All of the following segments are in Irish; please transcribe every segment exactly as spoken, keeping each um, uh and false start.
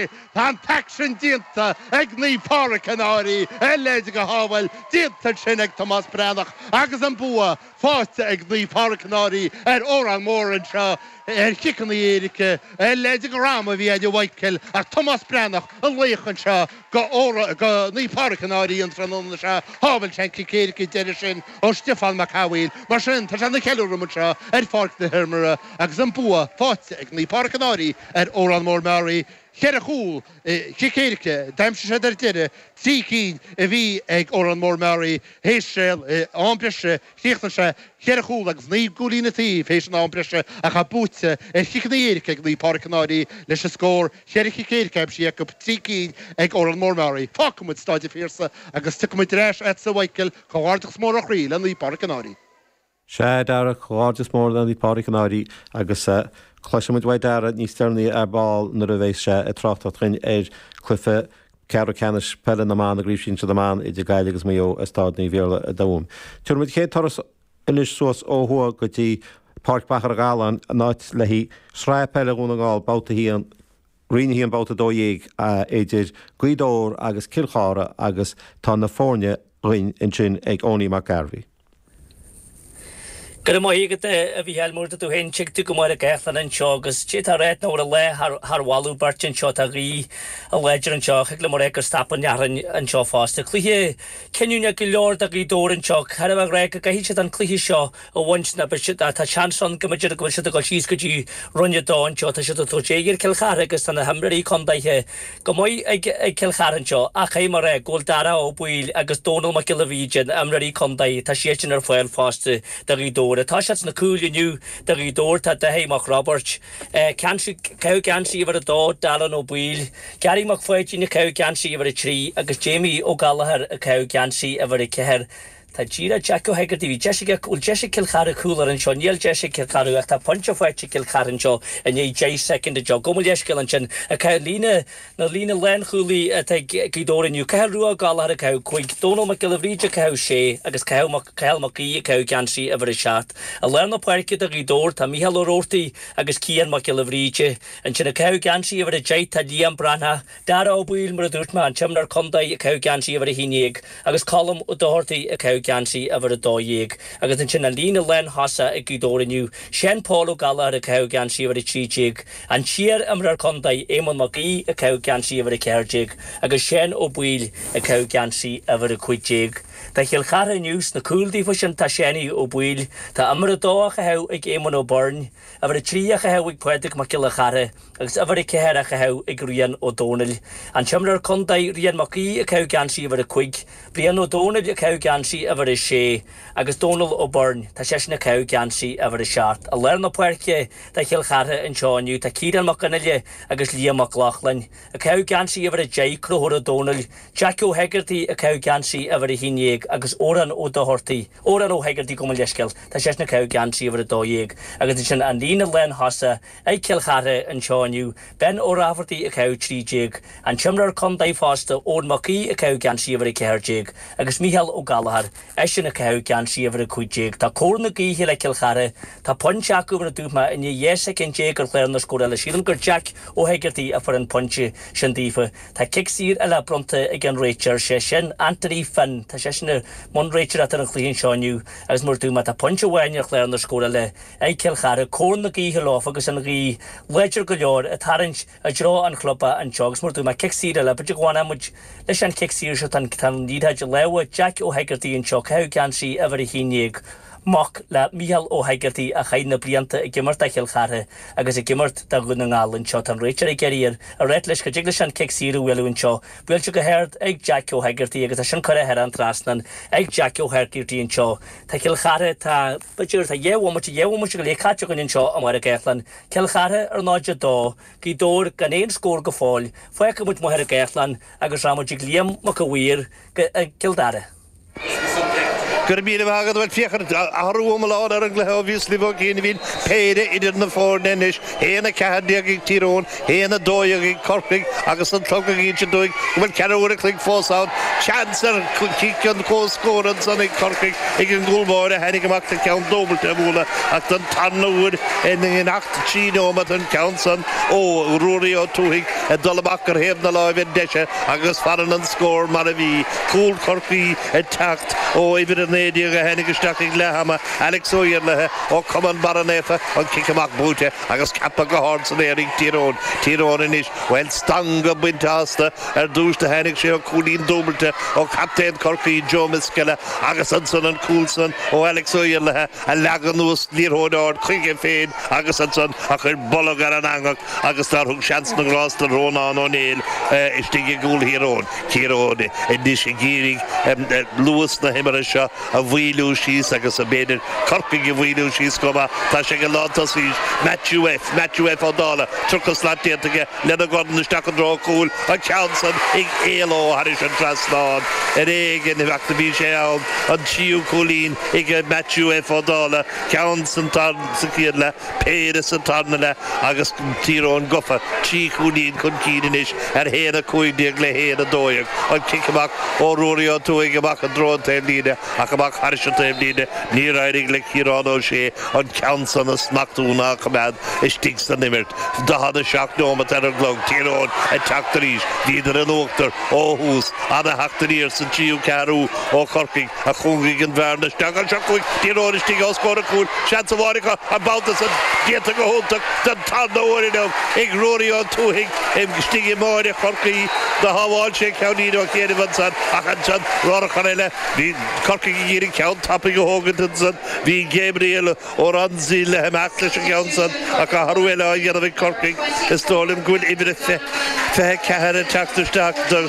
é! Tá an t-aicsean déanta ag Naomh Pádraig an Fhairche, a leithéid de shábháil déanta ansin ag Tomás Breathnach agus an bua faighte ag Naomh Pádraig an Fhairche ar Órán Mór anseo ar chiceanna éirice, a leithéid de dhráma a bhí ag Michael ach Tomás Breathnach an laoch anseo go go Naomh Pádraig an Fhairche an tráthnóna seo, shábháil sé an cic éirice deiridh sin ó Stiofán Mac Cathmhaoil. Mar sin, tá sé ina cheiliúradh anseo ar pháirc na himeartha agus an bua faighte ag Naomh Pádraig an Fhairche ar Órán Mór Meáraí. Ceithre chúl, chic éirice, d'aimsigh siad ar deireadh trí cinn a bhí ag Órán Mór Meáraí théis am breise, chríochnaigh sé ceithre chúl agus naoi gcúilín an taobh théis an am breise ach tá buaite ar chiceanna éirice ag Naomh Pádraig an Fhairche leis an scór cheithre chic éirice aimsithe acu, trí cinn ag Órán Mór Meáraí. Fágfaidh muid Stáid an Phiarsaigh agus tiocfaidh muid ar ais agatsa a Mhichael, comhghairdeachas mór ó chroí le Naomh Pádraig an Fhairche. Sea, a Dhara, comhghairdeas mór le Naomh Pádraig an Fhairche agus cloisfidh muid uaidh Dara níos deireanaí ar ball nuair a bheas sé ag tráchtaireacht dhúinn ar chluiche ceathrú ceannais peile na mban i gCraobh Shinsir na mBan idir Gaillimh agus Maigh Eo i Staid Naomh Iarlaith i dTuaim. Tabharfaidh muid chéad turas anois suas ó thuaidh go dtí Páirc Mhachaire Galláin, an áit le haghaidh Sraith Peile Dhún na nGall, babhta a haon, Roinn a haon babhta a dó dhéag idir Gaoth Dobhair agus Cill Chartha agus tá na foirne dhúinn ansin ag Owenie Mac Gairbhí. Go raibh maith agat a Mhícheáil, mar a dúirt tú féin, tuig tú go maith ar gach duine anseo agus cé tá ráit nó ar a lá thar thar mholadh beirte anseo tá gaoth láidir anseo thig liom a rá gur stop an fhearthainn anseo fosta. Cluiche cinniúnach go leor do Ghaoth Dobhair anseo char a bheith rá go gcaithfidh siad an cluiche seo a bhaint ná beidh siad tá seans ann go mb'fhéidir go bhfuil siad ag dul síos go dtí Roinn a dó anseo tá siad ag tabhairt aghaidh ar Cill Chartha agus tá na himreoirí contaetha go maith ag ag Cill Chartha anseo ach caithfidh mé a rá go bhfuil Dara Ó Baoill agus Dónal Mac Giolla Bhríde na himreoirí contae tá siad sin ar fáil fosta do Ghaoth Dobhair. Tá siad sna cúil inniu do Ghaoth Dobhair tá Dáithí Mac Roibeairt, caitheamh geansaí uimhir a dó, Darren Ó Baoill, Gary Mac Pháidín ag caitheamh geansaí uimhir a trí agus Jamie Ó Gallchóir ag caitheamh geansaí uimhir a ceathair. Tá díreach Jack Ó hEigeartaigh, bhí deis aige, bhfuil deis ag Cill Chartha cúl ar anseo, níl deis ag Cill Chartha ach tá pointe faighte ag Cill Chartha anseo i ndiaidh deich soicind anseo. Gabh mo leithscéal ansin ag caitheamh líne, na líne lánchúlaí atá ag Gaoth Dobhair inniu, Cathal Rua Ó Gallchóir ag caitheamh cúig, Dónal Mac Giolla Bhríde ag caitheamh sé agus Cathal Mac, Cathal Mac Aoidh ag caitheamh geansaí uimhir a seacht. I lár na páirce do Ghaoth Dobhair tá Mícheál Ó Roarty agus Cian Mac Giolla Bhríde. Ansin ag caitheamh geansaí uimhir a deich tá Liam Breathnach, Dara Ó Baoill, mar a dúirt mé, an t-imreoir contae ag caitheamh geansaí uimhir a haon déag agus Colm Ó Dochartaigh ag caitheamh geansaí uimhir a dó dhéag. Agus ansin an líne lántosaigh ag Gaoth Dobhair inniu, Seán Paul Ó Gallchóir ag caitheamh geansaí uimhir a trí déag, an t-iar-imreoir contae Éamonn Mac Aoidh ag caitheamh geansaí uimhir a ceathair déag agus Seán Ó Baoill ag caitheamh geansaí uimhir a cúig déag. Do Chill Chartha inniu sna cúil daofa sin tá Seánie Ó Baoill, tá uimhir a dó á chaitheamh ag Éamonn Ó Beirn, uimhir a trí á chaitheamh ag Pádraig Mac Giolla Chartha agus uimhir a ceathair á chaitheamh ag Rian Ó Dónaill. An t-imreoir contae Rian Mac Aoidh ag caitheamh geansaí uimhir a cúig, Brian Ó Dónaill ag caitheamh geansaí uimhir a sé agus Dónal Ó Beirn, tá seisean ag caitheamh geansaí uimhir a seacht. I lár na páirce do Chill Chartha anseo inniu tá Ciarán Mac Fhionnghaile agus Liam Mac Lochlainn. Ag caitheamh geansaí uimhir a deich, Conchúr Ó Dónaill, Jack Ó hEigeartaigh ag caitheamh geansaí uimhir a haon déag agus Odhrán Ó Dochartaigh, Odhrán Ó hEigeartaigh gabh mo leithscéal, tá seisean ag caitheamh geansaí uimhir a dó dhéag agus ansin an líne lántosaigh ag Cill Chartha anseo inniu, Ben Ó Raifeartaigh ag caitheamh trí déag, an t-imreoir contae fosta, Eoin Mac Aoidh ag caitheamh geansaí uimhir a ceathair déag agus Mícheál Ó Gallchóir, eisean ag caitheamh geansaí uimhir a cúig déag. Tá cóir na gaoithe le Cill Chartha, tá pointe acu mar a dúirt mé i ndiaidh dhá soicind déag ar chlár na scórála. Sílim gur Jack Ó hEigeartaigh a fuair an pointe sin daofa. Tá cic saor eile bronnta ag an réiteoir, sé sin Anthony Finn. Tá seisean i mbun réiteoireachta ar an chluiche anseo inniu agus mar a dúirt mé tá pointe amháin ar chlár na scórála ag Cill Chartha, cóir na gaoithe leofa agus an ghaoth láidir go leor ag tarraingt i dtreo an chlub anseo agus mar a dúirt mé cic saor eile, b'fhéidir go bhfanfaidh muid leis an chic saor seo, tá an liathróid i lámha Jack Ó hEigeartaigh anseo, caitheamh geansaí uimhir a haon déag. Mac le Mícheál Ó hEigeartaigh a chaith na blianta ag imirt do Chill Chartha agus ag imirt do Dhún na nGall anseo. Tá an réiteoir ag iarraidh air a ráit leis go dtig leis an cic saor a bhualadh anseo. Buailte go hard ag Jack Ó hEigeartaigh agus tá sin curtha thar an trasnán ag Jack Ó hEigeartaigh anseo. Tá Cill Chartha, tá, b'fhéidir, tá dhá bhomaite, dhá bhomaite go leith caite againn anseo i mPáirc Gháthlán. Cill Chartha ar náid a dó, Gaoth Dobhair gan aon scór go fóill. Fágfaidh muid Machaire Gathlán agus rachaidh muid ag Liam Mac a' Mhaoir go, i gCill Dara. Go raibh míle maith agat bhuel féach athrú iomlán ar an gcluiche ó bhíos libh ó chian bhíonn péire idir na foirne anois haon a ceathair déag ag Tír Eoghain, haon a dó dhéag ag Corcaigh agus an clog ag inse dúinn go bhfuil ceathrú uair a chloig fós ann. Seans ar chic an comhscór ansan ag Corcaigh ag an gcúl báire a tháinig amach le ceann dúbailte a bhualadh ach don tarna huair in imeacht trí nóiméad an ceann san ó Ruairí Ó Tuathaigh ag dul amach ar thaobh na láimhe deise agus fanann an scór mar a bhí. Cúl Chorcaí ag teacht ó uimhir a naoi déag a tháinig isteach ag leath ama, Alex Ó Iarlaithe ó Chumann Barra Naofa, an cic amach buaite agus ceaptha go hard san aer ag Tír Eoghain. Tír Eoghain anois, bhuel, stangadh bainte astu ar dtús do tháinig sé ó chúilín dúbailte ó chaptaen Chorcaí Joe Misskella agus ansan an cúl san ó Alex Ó Iarlaithe a leag anuas liathróid ard chuige féin agus ansan a chuir bolg ar an eangach agus nár thug seans na ngrást do Rónán Ó Néill istigh i gcúl Thír Eoghain. Tír Eoghain anois ag iarraidh luas na himeartha seo a mhaolú síos agus b'fhéidir Corcaigh a mhaolú síos chomh maith. Tá sé ag an lántosaí Matthew F. Matthew F. Ó Dálaigh, tríocha slat déanta aige lena dhorn isteach i dtreo an chúil, an ceann san ag éaló thairis an trasnán. Ar éigean ach do bhí sé ann, an tríú cúilín ag Matthew F. Ó Dálaigh, ceann sa chéad leath, péire sa tarna leath agus Tír Eoghain gafa trí chúilín chun cinn anois ar haon a cúig déag le haon a dó dhéag. An cic amach ó Ruairí Ó Tuathaigh amach i dtreo an taobhlíne ach amach thairis an taobhlíne, níor éirigh le Ciarán Ó Sé an ceann san a smachtú ná a choimeád istigh san imirt. Daichead a seacht nóimeat ar an gclog, Tír Eoghain ag teacht arís. Bhíodar in uachtar ó thús. Ana-theacht aniar sa tríú ceathrú ó Chorcaigh a chúngaigh an bhearna isteach. Anseo chugainn Tír Eoghain istigh os comhair an chúil. Seans amháin acu, an babhta san déanta go hiontach den tarna huair inniu ag Ruairí Ó Tuathaigh istigh i mbáire Chorcaí. Do shábháil sé ceainnín ó chianaibh ansan ach ansan urchar eile. Bhí Corcaigh ag iarraidh ceann tapaidh a thógaint ansan. Bhí Gabriel Oranzi le himeacht leis an gceann san ach athrú eile á dhéanamh ag Corcaigh. Is dóigh liom go bhfuil uimhir a fiche ceathair ag teacht isteach do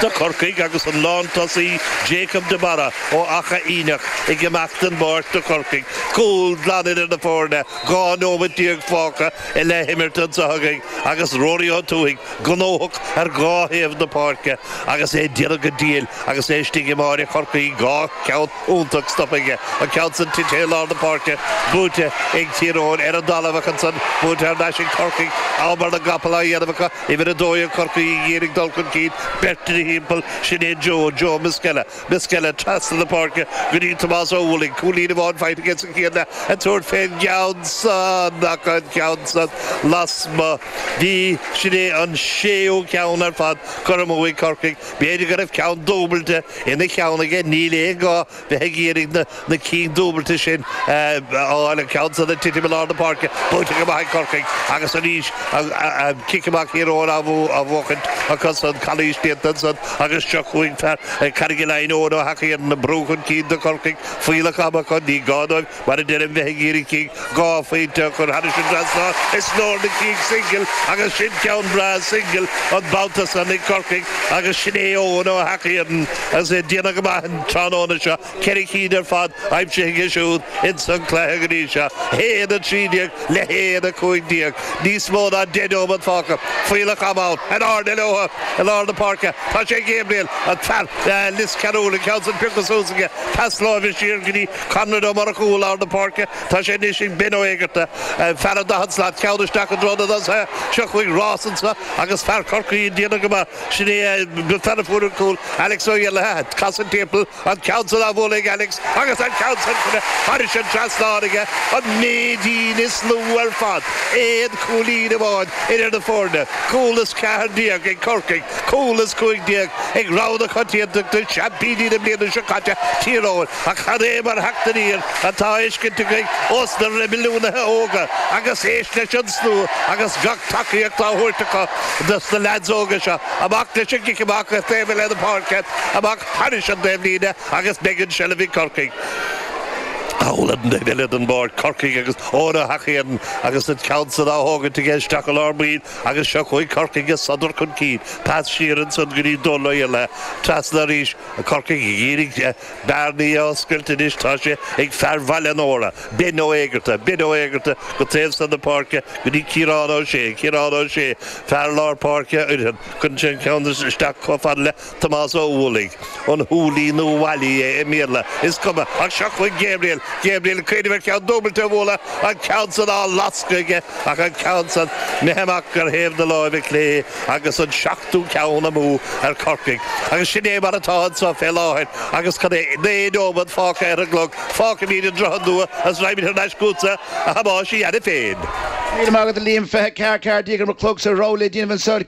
do Chorcaigh agus an lántosaí Jacob de Barra ó Achadh Fhíneach ag imeacht den bpáirc do Chorcaigh. Cúl glan idir na foirne, dhá nóiméad déag fágtha le himirt anseo againn agus Rory Ó Tuathaigh gnóthach ar dhá thaobh na páirce agus é ag déanamh go diail agus é istigh i mbáire Chorcaí, dhá cheann iontach stoptha aige, an ceann san tite i lár na páirce, buaite ag Tír Eoghain ar an dtalamh ach ansan buaite thar n-ais ag Corcaigh, am ar na gcapall á dhéanamh acu, uimhir a dó ag Corcaigh ag iarraidh dul chun cinn, beirt ina thimpeall, sin é Joe, Joe Misskella, Misskella trasna na páirce go dtí Tomás Ó hUallaigh, cúilín amháin faighte aige sa chéad leath, ag tabhairt fén gceann san ach an ceann san lasmuigh. Bhí, sin é an séú ceann ar fad curtha amú ag Corcaigh. B'fhéidir go raibh ceann dúbailte ina cheann aige, níl aon ghá bheith ag iarraidh na na cinn dúbailte sin a fháil. An ceann san ag titim i lár na páirce, buaite go maith ag Corcaigh agus arís an cic amach Thír Eoghain á bhuachaint acu san, calaois déanta ansan agus seo chugainn fear Charraig Laighin, Eoin Ó hEachaidh, an brú chun cinn do Chorcaigh, fuílleach ama acu, ní gá dóibh, mar a deirim, bheith ag iarraidh cinn dhá phointe a chur thairis an trasnán. Is leor na cinn singil agus sin ceann breá singil an babhta san ag Corcaigh agus sin é Eoin Ó hEachaidh agus é ag déanamh go maith an tráthnóna seo, ceithre cinn ar fad aimsithe aige siúd ins an cluiche go dtí seo. haon a trí déag le haon a cúig déag. Níos mó ná deich nóiméad fágtha. Fuílleach ama ann. In airde leo i lár na páirce. Tá sé ag Gabriel, an fear Lios Cearúil, an ceann san pioctha suas aige. Pas láimhe siar go dtí Conrad Ó Murchú i lár na páirce. Tá sé anois ag Ben Ó Éigearta, fear an daichead slat, ceann isteach i dtreo na dtosaithe. Seo chugainn rás anseo agus fear Chorcaí ag déanamh go maith. Sin é an fear a fuair an cúl, Alex Ó Iarlaithe. Casadh timpeall, an ceann san á bhualadh ag Alex agus an ceann san curtha thairis an trasnán aige, an méidín is lú ar fad. Aon chúilín amháin idir na foirne. Cúl is ceathair déag ag Corcaigh, cúl is cúig déag ag rogha na coitiantachta, seaimpíní na bliana seo caite, Tír Eoghain. Ach cad é mar theacht aniar atá á fheiscint againn ós na reibiliúnaithe óga agus éist leis an slua agus gach tacaíocht á thabhairt acu dos na leaids óga seo. Amach leis an gcic amach ar taobh eile na páirce, amach thairis an dtaobhlíne agus beidh an seilbh ag Corcaigh. Thall an taobh eile den bpáirc Corcaigh agus Eoin Ó hEachaidh agus an ceann san á thógaint aige isteach i lár baill agus seo chugainn Corcaigh ag sodar chun cinn. Pas siar ansan go dtí Dónal Ó Iarlaithe. Trasna arís Corcaigh ag iarraidh bearnaí a oscailt anois tá sé ag fear Bhaile an Óra, Ben Ó Éigearta, Ben Ó Éigearta go taobh san na páirce go dtí Ciarán Ó Sé, Ciarán Ó Sé, fear lár páirce uirtheann, cuireann sé an ceann isteach chomh fada le Tomás Ó Uallaigh, an Hooley nó Wally é i mBéarla, is cuma, ach seo chugainn Gabriel, Gabriel ag cuimhneamh ar cheann dúbailte a bhualadh, an ceann san á lascadh aige ach an ceann san imithe amach ar thaobh na láimhe clé agus an seachtú ceann amú ar Chorcaigh. Agus sin é mar atá anseo fé láthair agus cad é naoi nóiméad fágtha ar an gclog, fágfaimid an Droichead Nua agus raghaimid thar n-ais chugatsa, a Thomáis, cheana féin. Míle maith agat a Liam fiche ceathair ceathair déag ar mo chlogsa ró le déanamh anseo.